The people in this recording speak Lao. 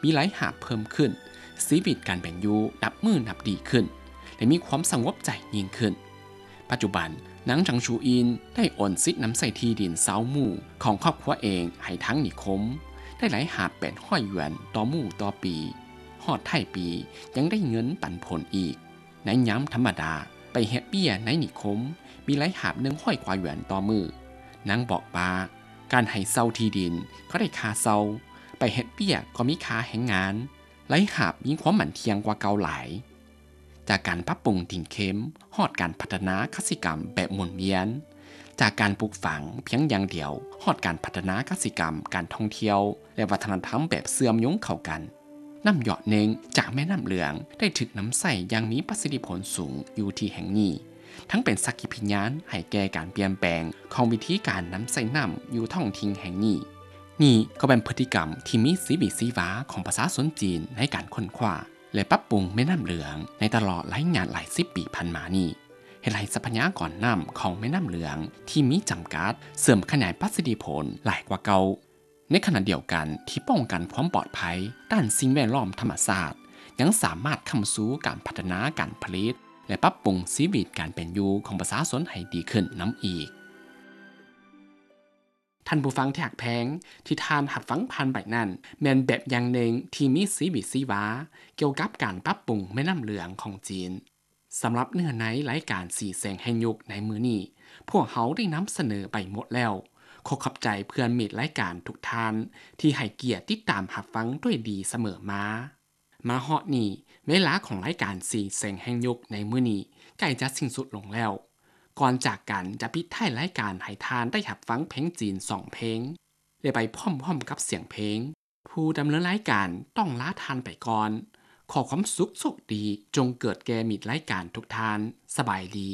ມີລາຍຮັບເພີ່ມຂຶ້ນ, ຊີວິດການເປັນຢູ່ນັບມື້ນັບດີຂຶ້ນ ແລະ ມີຄວາມສະຫງົບໃຈຍິ່ງຂຶ້ນ. ປັດຈຸບັນ, ນາງ ຈາງ ຊູອິນ ໄດ້ໂອນສິດນຳໃຊ້ທີ່ດິນຊາວໝູ່ຂອງຄອບຄົວເອງໃຫ້ທາງນິຄົມ, ໄດ້ລາຍຮັບແປດຮ້ອຍຢວນຕໍ່ໝູ່ຕໍ່ປີ, ຮອດທ້າຍປີຍັງໄດ້ເງິນປັນຜົນອີກ. ໃນຍາມທຳມະດາ, ໄປເຮັດວຽກໃນນິຄົມ ມີລາຍຮັບໜຶ່ງຮ້ອຍກວ່າຢວນຕໍ່ມື້. ນາງບອກວ່າ, ການໃຫ້ເຊົ່າທີ່ດິນກໍໄດ້ຄ່າເຊົ່າ, ໄປເຮັດວຽກກໍມີຄ່າແຮງງານ, ລາຍຮັບມີຄວາມໝັ້ນທ່ຽງກວ່າເກົ່າຫຼາຍ. ຈາກການປັບປຸງຕິງເຂັມ ຮອດການພັດທະນາກະສິກຳແບບໝູນວຽນ, ຈາກການປູກຝັງພຽງຢ່າງດຽວ ຮອດການພັດທະນາກະສິກຳ, ການທ່ອງທ່ຽວ ແລະ ວັດທະນະທຳແບບເຊື່ອມໂຍງເຂົ້າກັນ. ນ້ຳຢອດໜຶ່ງຈາກແມ່ນ້ຳເຫຼືອງໄດ້ຖືກນຳໃຊ້ຢ່າງມີປະສິດທິຜົນສູງຢູ່ທີ່ແຫ່ງນີ້, ທັງເປັນສັກຂີພະຍານໃຫ້ແກ່ການປ່ຽນແປງຂອງວິທີການນຳໃຊ້ນ້ຳຢູ່ທ້ອງຖິ່ນແຫ່ງນີ້. ນີ້ກໍເປັນພຶດຕິກຳທີ່ມີຊີວິດຊີວາຂອງປະຊາຊົນຈີນໃນການຄົ້ນຄວ້າ ແລະ ປັບປຸງແມ່ນ້ຳເຫຼືອງໃນຕະຫຼອດລະຍະຫຼາຍສິບປີຜ່ານມານີ້, ເຮັດໃຫ້ຊັບພະຍາກອນນ້ຳຂອງແມ່ນ້ຳເຫຼືອງທີ່ມີຈຳກັດ ເສີມຂະຫຍາຍປະສິດທິຜົນຫຼາຍກວ່າເກົ່າ. ໃນຂະນະດຽວກັນທີ່ປ້ອງກັນຄວາມປອດໄພດ້ານສິ່ງແວດລ້ອມທຳມະຊາດ, ຍັງສາມາດຄ້ຳຊູການພັດທະນາການຜະລິດ ແລະ ປັບປຸງຊີວິດການເປັນຢູ່ຂອງປະຊາຊົນໃຫ້ດີຂຶ້ນນຳອີກ. ທ່ານຜູ້ຟັງທີ່ຮັກແພງ, ທີ່ທ່ານຮັບຟັງຜ່ານໄປນັ້ນ ແມ່ນແບບຢ່າງໜຶ່ງທີ່ມີຊີວິດຊີວາກ່ຽວກັບການປັບປຸງແມ່ນ້ຳເຫຼືອງຂອງຈີນ. ສຳລັບເນື້ອໃນລາຍການສີແສງແຫ່ງຍຸກໃນມື້ນີ້, ພວກເຮົາໄດ້ນຳສະເໜີໄປໝົດແລ້ວ. ຂໍຂອບໃຈເພື່ອນມິດລາຍການທຸກທ່ານທີ່ໃຫ້ກຽດຕິດຕາມຮັບຟັງດ້ວຍດີສະເໝີມາ. ມາຮອດນີ້, ເວລາຂອງລາຍການສີແສງແຫ່ງຍຸກໃນມື້ນີ້ໃກ້ຈະສິ້ນສຸດລົງແລ້ວ. ກ່ອນຈາກກັນ, ຈະປິດທ້າຍລາຍການໃຫ້ທ່ານໄດ້ຮັບຟັງເພງຈີນສອງເພງ ແລະ ໄປພ້ອມໆກັບສຽງເພງ. ຜູ້ດຳເນີນລາຍການຕ້ອງລາທ່ານໄປກ່ອນ. ຂໍຄວາມສຸກໂຊກດີຈົ່ງເກີດແກ່ມິດລາຍການທຸກທ່ານ. ສະບາຍດີ.